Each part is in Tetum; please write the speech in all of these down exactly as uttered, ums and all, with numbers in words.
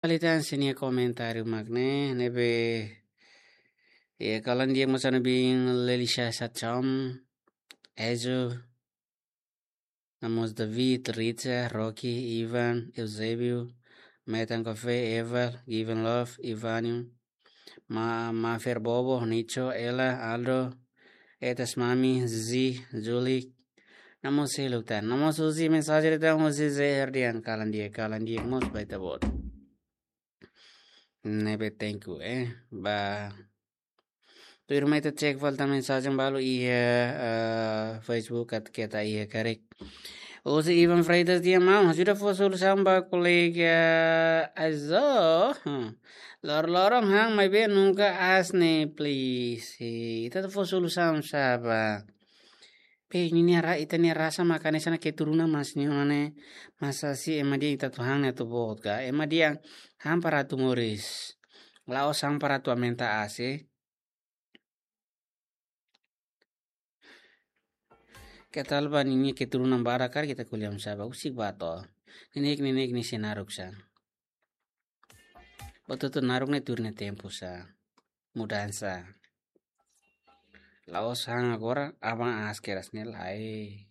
Fali tan sira-nia komentáriu mak ne'e, ne'ebé, eh, kalan di'ak mós ha'u-nia biin Lelisha Satchom, Ezo, no mós David, Richa, Rocky, Ivan, Eusébio, Metan Café, Eval, Given Love, Ivanium, Ma-, Mafer Bobo, Nicho, Ela, Aldo, Etas Mami, Zi, Zulik, no mós seluk tan. No mós husi mensajen tan husi Zeher dehan kalan di'ak, kalan di'ak mós ba ita-boot. Ne'ebé thank you, eh. Ba. Tuirmai ita cek fali tan mensajen balu iha, eh, Facebook atu keta iha karik. Husi Ivan Freitas dehan maun, ajuda fó solusaun ba kolega Azo. Hmm. Lor-loron han maibé nunka aas ne'e, please. Eh, ita atu fó solusaun sá ba. Pe, ninia ra-, ita-nia rasa mak hanesan keturunan mós ne'e ona ne'e. Masa si ema dehan ita atu han ne'e atu boot ka. Ema dehan han para atu moris. La'ós han para atu aumenta aas, eh. Keta haluha ba ninia keturunan barak karik ita ko'alia sá ba, husik ba to'o. Neineik, neineik nia sei naruk sá. Buat hotu naruk ne'e tuir nia tempu sá. Mudansa. La'ós han agora, aban aas kedas ne'e lae.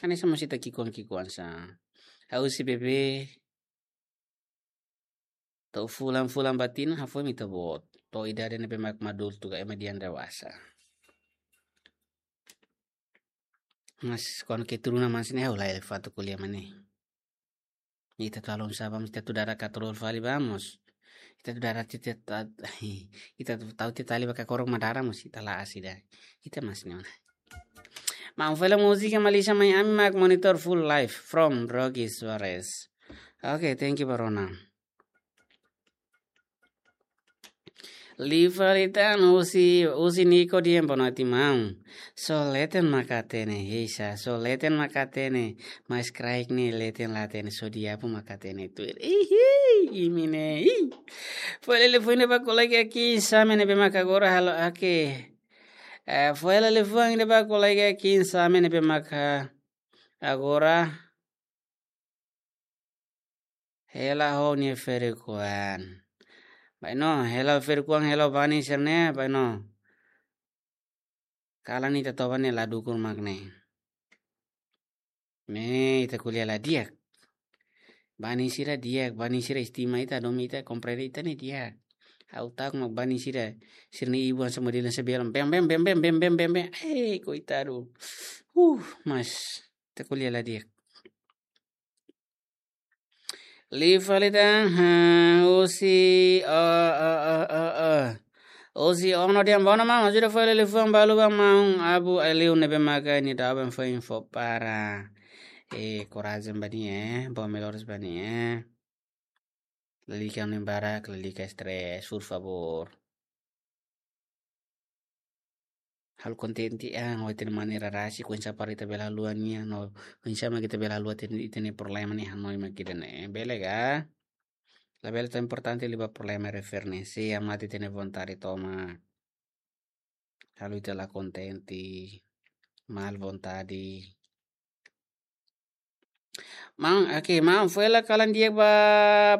Hanesan mós ita ki'ikoan-ki'ikoan sá. Ha'u husi bebé. To'o fulan-fulan ba tinan hafoin mak ita boot. To'o idade ne'ebé mak madul tuga ema dehan dewasa. Mas kuandu keturunan mós ne'e ha'u la elefante ko'alia mak ne'e. Ita atu halo sá ba mós, ita atu dada katrol fali ba mós. Ita atu dada tita ta-, ita atu tau tita tali ba kakorok mak dada mós, ita la aas ida. Ita mós ne'e ona. Maun, fó hela múzika Malícia Mai Ami mak monitor full live from Rocky Suarez. Okay, thank you, Barona. Liu fali tan husi, husi Nico dehan boa noite maun. Só leten mak hatene, heisa, só leten mak hatene, mas kraik ne'e leten la hatene, só diabu mak hatene tuir. Ihi, imi ne'e, ih. Fó hela liafuan ida ba kolega Kim Same ne'ebé mak agora halo, okay. Eh, fó hela liafuan ida ba kolega Kim Same ne'ebé mak agora hela ho nia ferik-oan. Bainhira hela ferik-oan, hela banin sira-ne'e, bainhira kalan ita toba ne'e la dukur mak ne'e. Ne'e ita ko'alia la di'ak. Banin sira di'ak, banin sira estima ita, domin ita, komprende ita ne'e di'ak. Ha'u ta'uk mak banin sira, sira-nia ibun hanesan modelu hanesan belu, bem, bem, bem. Eh, koitadu. Uh, mas, ita ko'alia la di'ak. Liu fali tan, ha, husi, oh, oh, oh, oh, oh. Husi Ono dehan boa noite maun, ajuda fó hela liafuan balu ba maun Abu Aliu ne'ebé maka nia dada ben fó info para. Eh, korajen ba nia, eh, boa melhoras ba nia, eh. Lalika oin barak, lalika stress, por favor. Halo kontente an, ho ita-nia maneira rasik, oinsá para ita bele haluha nia, no, oinsá mak ita bele haluha ita-nia, ita-nia problema ne'e hanoin mak ida-ne'e. Bele ka? Labele tau importante liu ba problema referensi, ema ita-nia vontade tomak. Halo ita la kontente, mal vontade. Maun, oke, maun, fó hela kalan di'ak ba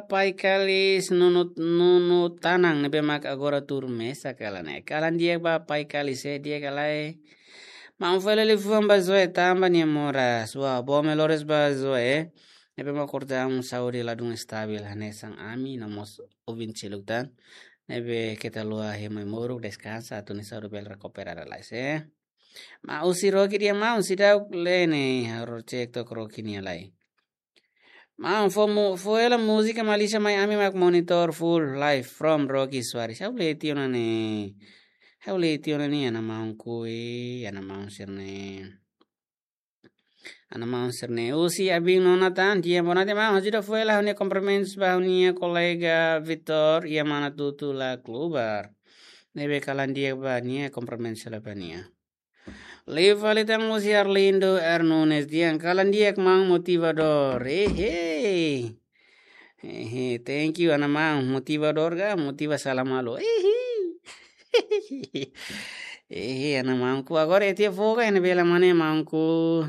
Pai Kalis Nunu, Nunu Tanang, ne'ebé mak agora tuur mesak kalan ne'e. Kalan di'ak ba Pai Kalis, eh, di'ak ka lae. Maun, fó hela liafuan ba Zoe, tanba nia moras. Wah, boa melhoras ba Zoe, eh. Ne'ebé mak korta un saúde ladún estabil, hanesan ami, no mós ouvinte seluk tan. Ne'ebé keta haluha hemu ai-moruk, deskansa, atu nia saúde bele rekupera lalais, eh. Maun, husi Rocky dehan maun, seidauk lee ne'e, ha'u cek tok Rocky nia lai. Maun, fó mu-, fó hela múzika Malícia Mai Ami mak monitor full live from Rocky Suarez. Ha'u lee tiha ona ne'e. Ha'u lee tiha ona ne'e, ana maun kui, ana maun sira-ne'e. Ana maun sira-ne'e. Husi Abin Nona tan, dehan boa noite maun, ajuda fó hela ha'u-nia kumprimentus ba ha'u-nia kolega Vitor, iha Manatuto La Klubar. Ne'ebé kalan di'ak ba nia, kumprimentus hela ba nia. Liu fali tan husi Arlindo R Nunes dehan kalan di'ak maun motivadór. Ehe. Ehe, thank you, ana maun. Motivadór ka? Motiva sala malu. Ehe. Ehe, ana maunku. Agora ita foka ne'e bele mane maunku.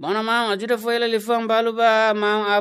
Bona maun, ajuda fó hela liafuan balu ba maun